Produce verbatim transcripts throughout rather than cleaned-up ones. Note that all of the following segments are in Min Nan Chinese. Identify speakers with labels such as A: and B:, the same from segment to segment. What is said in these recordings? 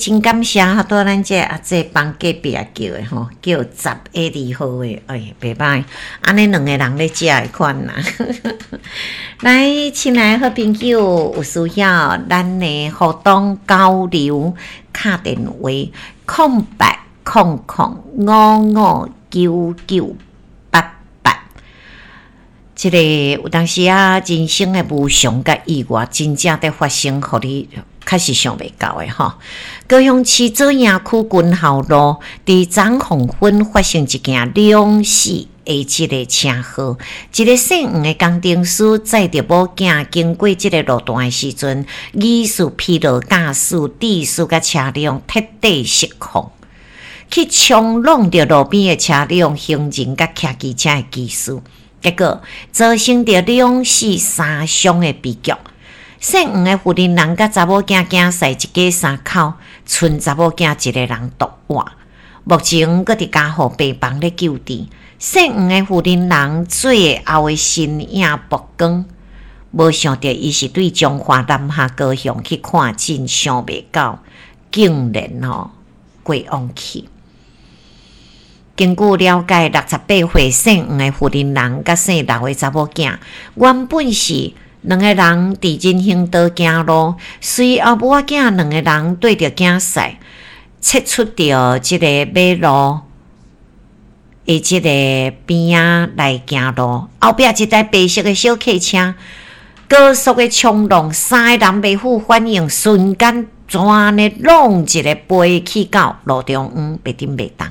A: 真感謝，拄咱這阿姐幫隔壁叫的吼，叫十 A 二號的，哎，袂䆀，按呢兩个人咧食的款啦。來，親愛的好朋友，有需要咱的活動交流，敲電話空八空空五五九九八八。這个有當時啊，人生的無常佮意外，真正佇發生，予你確實想袂到的吼。高雄市左營區軍校路，佇昨黃昏發生一件兩死的這个車禍，一个姓黃的工程師載著某囝經過這个路段的時陣，疑似疲勞駕駛，致使共車輛徹底失控，去衝挵著路邊的車輛、行人佮騎機車的機師，結果造成著兩死三傷的悲劇。姓黃的婦人佮查某囝囝婿一家三口，賰查某囝一个人獨活，目前閣佇加護病房咧救治。姓黃的婦人最後的身影曝光，無想著伊是對彰化南下高雄去看診，想袂到竟然吼過往去。根據了解，六十八歲姓黃的婦人佮姓劉的查某囝，原本是兩个人佇人行道行路，隨後母仔囝兩个人綴著囝婿，切出著這个馬路的這个邊仔來行路，後壁一台白色的小客車高速的衝浪，三个人袂赴反應，瞬間全呢挵一个飛去到路中央，袂振袂動。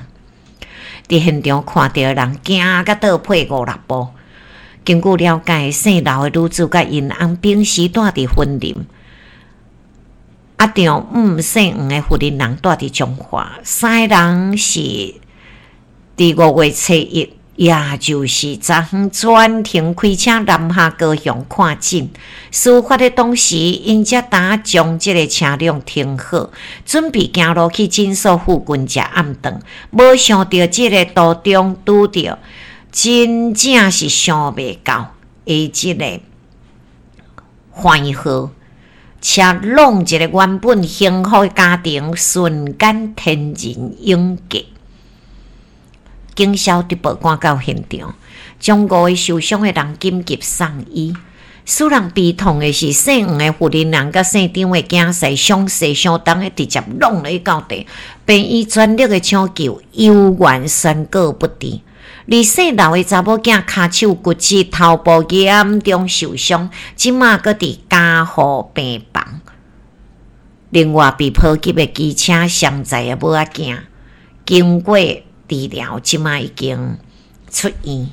A: 佇現場看著的人驚甲倒退五六步。根據了解，姓劉的女子佮𪜶翁平時住佇雲林，啊丈姆姓黃的婦人住佇彰化，三个人是佇五月初一，也就是昨昏專程開車南下高雄看診。事發的當時，𪜶才拄將這个車輛停好，準備行路去診所附近食暗頓，無想著這个途中拄著真正是想袂到的這个橫禍，車挵一个原本幸福的家庭，瞬間天人永隔。警消直報趕到現場，將五个受傷的人緊急送醫。使人悲痛的是，姓黃的婦人佮姓張的囝婿，傷勢相當的直接挵落去到地，病院全力的搶救，猶原宣告不治。而姓劉的查某囝跤手骨折，頭部嚴重受傷，這馬閣佇加護病房。另外，被波及的機車雙載的母仔囝，經過治療，這馬已經出院。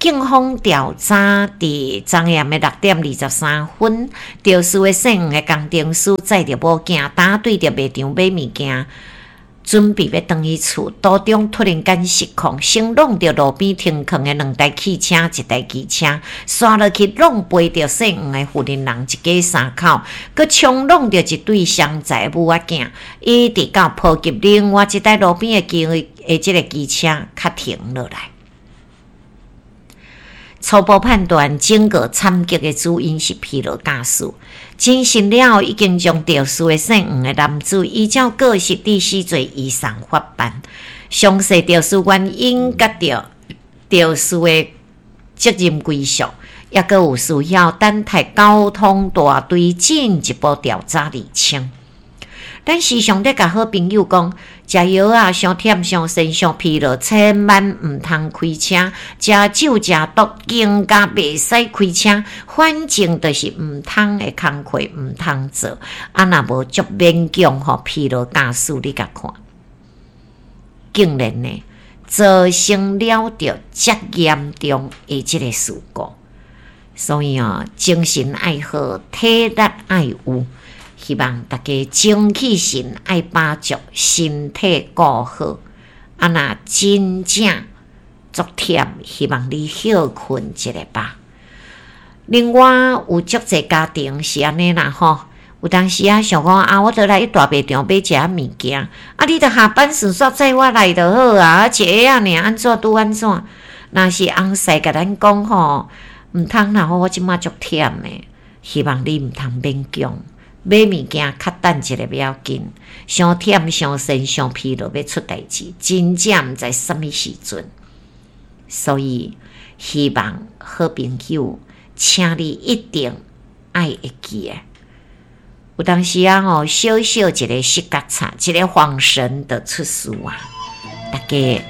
A: 警方調查，佇昨暗的六點二十三分，肇事的姓黃的工程師載著某囝，拄對著賣場買物件，準備欲轉去厝，途中突然間失控，先挵著路邊停囥的兩台汽車、一台機車，紲落去挵飛著姓黃的婦人一家三口，閣衝挵著一對雙載母仔囝，一直到波及另外一台路邊的機的這个機車，才停落來。初步判斷，整個慘劇的主因是疲勞駕駛。偵訊了後，已經將肇事的姓黃的男子依照過失致死罪移送法辦。詳細肇事原因佮著肇事的責任歸屬，抑閣有需要等待交通大隊進一步調查釐清。咱時常咧共好朋友講，食藥仔傷忝、傷身、傷疲勞，千萬毋通開車。食酒食毒更加袂使開車。反正就是毋通的工課毋通做。啊，若無足勉強吼，疲勞駕駛，你共看，竟然呢造成了著遮嚴重的這个事故。所以哦，精神愛好，體力愛有。希望大家精氣神愛飽足，身體顧好。啊，若真正足忝，希望你歇睏一下吧。另外有足濟家庭是按呢啦吼，有當時啊想講啊，我著來去大賣場買一下物件，啊，你著下班順紲載我來就好啊，一下仔爾按怎拄按怎。若是翁婿共咱講吼，毋通啦，我這馬足忝的，希望你毋通勉強。買物件較等一下袂要緊，傷忝、傷神、傷疲勞，欲出代誌，真正毋知啥物時陣。所以希望好朋友，請你一定愛會記得。有當時啊吼，小小一个失覺察，一个晃神就出事啊！大家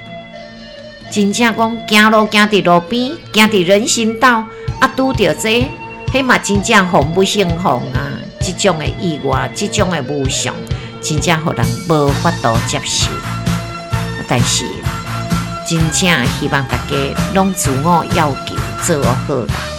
A: 真正講行路行佇路邊，行佇人行道，啊拄著這個，彼嘛真正防不勝防啊！這種的意外，這種的無常，真正予人無法度接受。但是真正希望大家攏自我要求做好啦。